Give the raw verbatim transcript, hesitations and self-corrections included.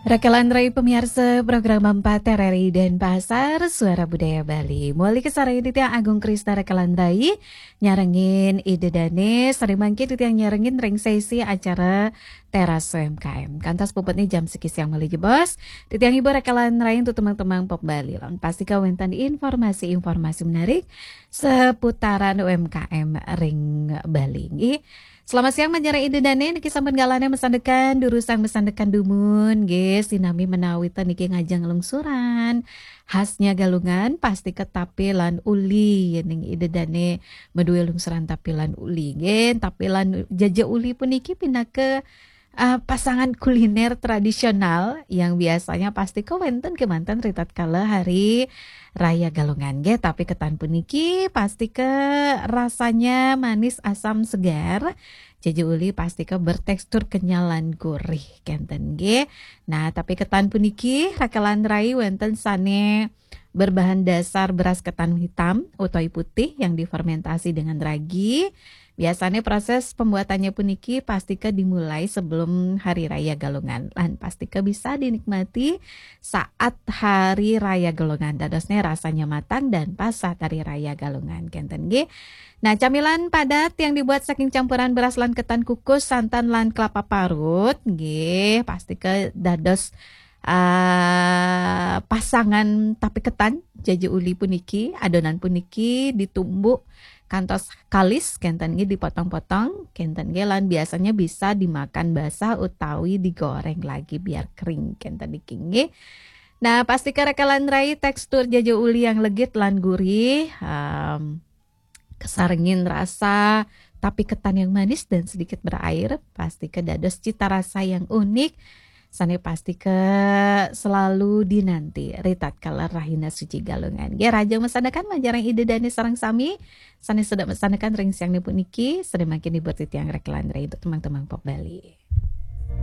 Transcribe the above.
Rekelan rai pemiarsa program empat R R I Denpasar, Suara Budaya Bali. Muli kasarengin titiang Agung Krisna rekelan rai, nyarengin Ida Dane, sare mangkin titiang nyarengin ring sesi acara Teras U M K M. Kantos puputne jam siki siang malih jebos, titiang hibur rekelan rai untuk temang-temang pop Bali. Lan pastika wenten informasi-informasi menarik seputaran U M K M ring Bali. Nggih. Selamat siang, Manjara Ida Dane, niki sampun galahne masandekan, durusang masandekan dumun, nggih, sinami menawi ten niki ngajeng lungsuran. Khasnya Galungan, pastika tapi lan uli, yening Ida Dane madue lungsuran tapi lan uli, nggih, tapi lan jaja uli puniki pinaka, eh, pasangan kuliner tradisional yang biasanya pastika wenten kemanten ritatkala hari Raya Galungan, nggih, tapi ketan puniki pastika rasanya manis, asam, segar. Jaja uli pastika bertekstur kenyal lan gurih, kenten, nggih. Nah, tapi ketan puniki rekelan rai wenten sane berbahan dasar beras ketan hitam utawi putih yang difermentasi dengan ragi. Biasanya proses pembuatannya puniki pastika dimulai sebelum Hari Raya Galungan. Lan pastika bisa dinikmati saat Hari Raya Galungan. Dadosnya rasanya matang dan pas saat Hari Raya Galungan. Kenten, nggih. Nah, camilan padat yang dibuat saking campuran beras lan ketan kukus, santan lan kelapa parut, nggih, pastika dados, eh, pasangan tapi ketan, jaja uli puniki, adonan puniki ditumbuk kantos kalis, kenten nggih, dipotong-potong, kenten nggih, lan biasanya bisa dimakan basah utawi digoreng lagi biar kering, kenten niki nggih. Nah, pastika rekelan rai tekstur jaja uli yang legit lan gurih, em, kesarengin rasa tapi ketan yang manis dan sedikit berair, pastika dados cita rasa yang unik. Sane pastika selalu dinanti ritatkala Rahina Suci Galungan. Nggih, rahajeng masandekan, Manjara Ida Dane sareng sami sane sedek masandekan ring siang puniki, sane mangkin hibur titiang rekelan rai untuk temang-temang pop Bali.